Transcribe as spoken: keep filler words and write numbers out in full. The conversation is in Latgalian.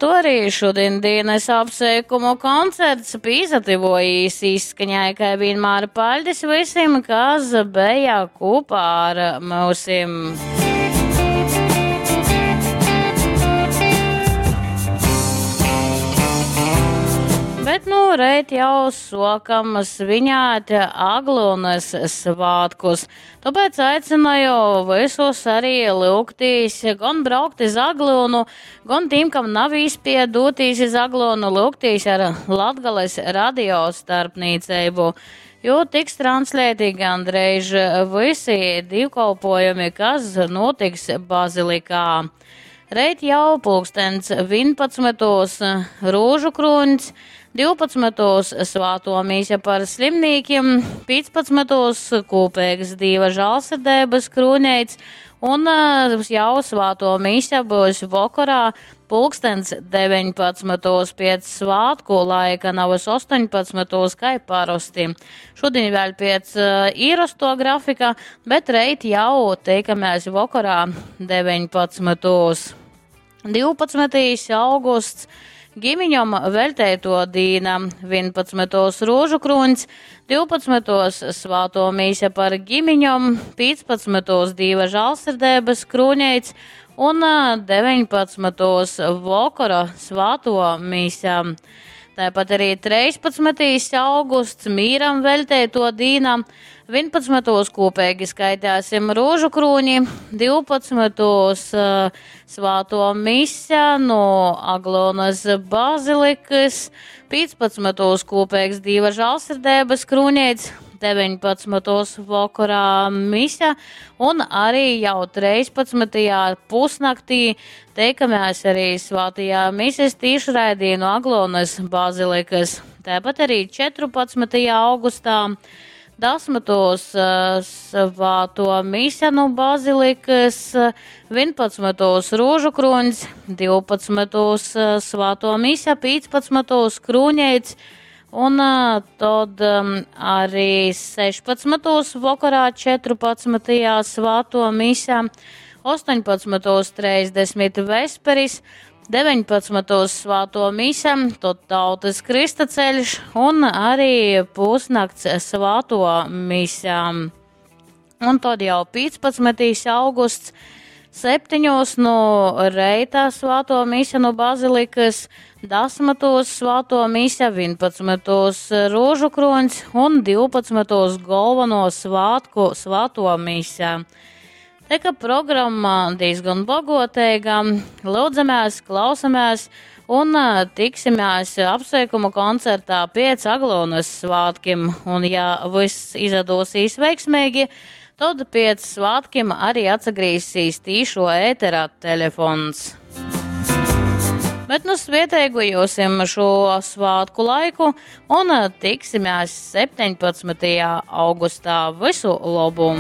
ar to arī šodien dienas apsveikumu koncerts pīsatyvojīs izskaņai, kai vienmēr paļdis visim, kas beja kopā ar mūsim. Bet nu reit jau sokam svinēt Aglonas svātkus. Tāpēc aicināju visus arī lūgtīs, gan braukt iz Aglonu, gan tiem, kam nav īspēja doties iz Aglonu, lūgtīs ar Latgales radio starpniecību. Jo tiks translēti gandrīz visi divkolpojumi, kas notiks bazilikā. Reit jau pulkstens vienpadsmitos Rūžu krūņs, divpadsmitos svāto mise par slimnīkiem, piecpadsmitos kopīgs Dieva žālsirdības krūneits un jau svāto mise būs vakarā pulkstens deviņpadsmitos pēc svātku laika, navas astoņpadsmitos, kā parasti. Šodien vēl pēc īrasto grafika, bet reit jau tiekamies vakarā deviņpadsmitos. divpadsmitais augusts. Gimiņam veltēto dīna, vienpadsmitos Rūžu krūņs, divpadsmitos svāto mise par gimiņam, piecpadsmitos Dieva žālsirdības krūņeits un deviņpadsmitos vakara svāto mise. Tāpat arī trīspadsmitais augusts mīram veltēto dīna, vienpadsmitos kopīgi skaitēsim Rūžu krūņi, divpadsmitos svāto mise no Aglonas bazilikas, piecpadsmitos kopīgs Dieva žālsirdības krūņeits, deviņpadsmitos vakarā mise un arī jau trīspadsmitajā pusnaktī teikamies arī svātajā mises tīšraidī no Aglonas bazilikas. Tāpat arī četrpadsmitajā augustā desmitos svāto mise no bazilikas, vienpadsmitos Rūžu krūņs, divpadsmitos svāto mise, piecpadsmitos krūņeits. Un tad arī sešpadsmitos vakarā četrpadsmitajā svāto mise, astoņpadsmitos trīsdesmit vesperis, deviņpadsmitos svāto mise, tad tautas kristaceļš un arī pusnakts svāto mise. Un tad jau piecpadsmitais augusts, septiņos no reita svāto mise no bazilikas, desmitos svāto mise, vienpadsmitos Rūžu krūņs un divpadsmitos galveno svātku svāto mise. Te, ka programma diezgan bagoteiga, lūdzamies, klausamies un tiksimies apsveikuma koncertā pēc Aglonas svātkim. Un ja viss izdosies veiksmīgi, tad pēc svātkim arī atsagrīzīs tīšo ēterā telefons. Bet nu svieteigu jūsim šo svātku laiku un tiksimies septiņpadsmitajā augustā. Visu labu!